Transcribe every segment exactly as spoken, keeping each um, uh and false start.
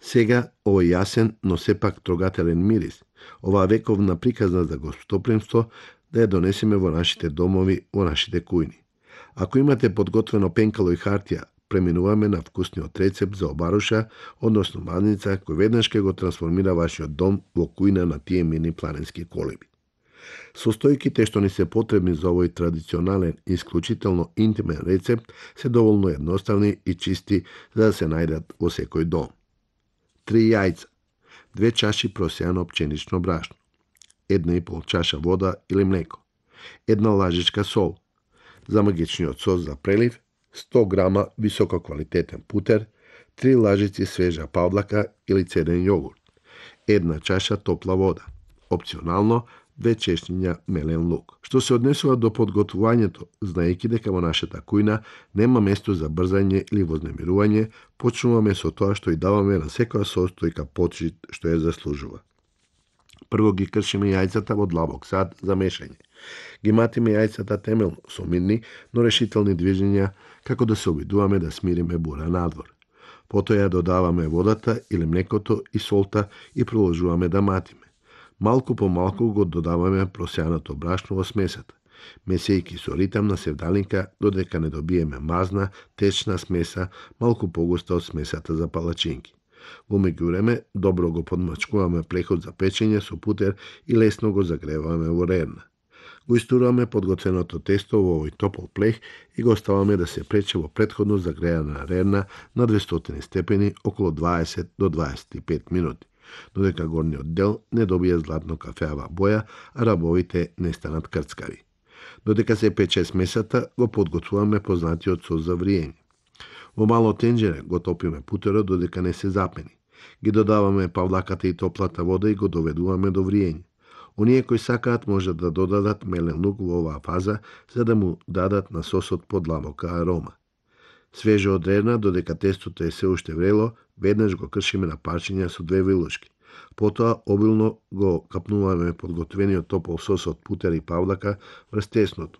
Сега овој јасен, но сепак трогателен мирис, оваа вековна приказна за гостопримство, да ја донесеме во нашите домови, во нашите кујни. Ако имате подготвено пенкало и хартија, преминуваме на вкусниот рецепт за обаруша, односно мазница, кој веднаш ќе го трансформира вашиот дом во кујна на тие мини планински колиби. Состојките што ни се потребни за овој традиционален и исклучително интимен рецепт се доволно едноставни и чисти за да се најдат во секој дом. Три јајца, две чаши просеано пченично брашно, една и пол чаша вода или млеко, една лажичка сол, за магичниот сос за прелив, сто грама висококвалитетен путер, три лажици свежа павлака или цеден јогурт, една чаша топла вода, опционално две чешњиња мелен лук. Што се однесува до подготвувањето, знаејќи дека во нашата кујна нема место за брзање или вознемирување, почнуваме со тоа што и даваме на секоја состојка почит што ја заслужува. Прво ги кршиме јајцата во длабок сад за мешање. Ги матиме јајцата темелно, со мирни, но решителни движења, како да се обидуваме да смириме бура надвор. Потоа ја додаваме водата или млекото и солта и продолжуваме да матиме. Малку по малку го додаваме просеаното брашно во смесата, месејќи со ритам на севдалинка додека не добиеме мазна, течна смеса, малку погуста од смесата за палачинки. Во меѓувреме, добро го подмачкуваме плехот за печење со путер и лесно го загреваме во рерна. Го истуруваме подготвеното тесто во овој топол плех и го оставаме да се прече во претходно загреана рерна на двестоти степени околу дваесет до дваесет и пет минути, додека горниот дел не добие златно кафеава боја, а рабовите не станат крцкави. Додека се пече смесата, го подготвуваме познатиот сос за вриење. Во мало тенџере го топиме путерот додека не се запени. Ги додаваме павлаката и топлата вода и го доведуваме до вриење. Оние кои сакаат можат да додадат мелен лук во оваа фаза, за да му дадат на сосот подлабока арома. Свежо од рерна, додека тестото е се уште врело, веднаш го кршиме на парчиња со две вилушки. Потоа обилно го капнуваме подготвениот топол сос од путер и павлака врз тесното.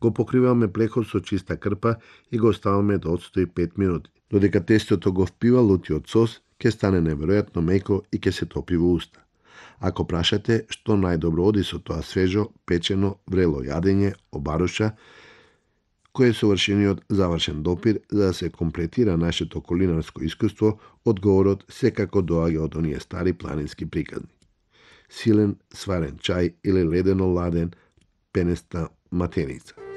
Го покриваме плехот со чиста крпа и го оставаме да отстои пет минути. Додека тестото го впива лутиот сос, ќе стане неверојатно меко и ќе се топи во уста. Ако прашате што најдобро оди со тоа свежо, печено, врело јадење, обаруша, кој е совршениот завршен допир за да се комплетира нашето кулинарско искуство, одговорот секако доаѓа од оние стари планински приказни. Силен сварен чај или ледено ладен пенеста матеница.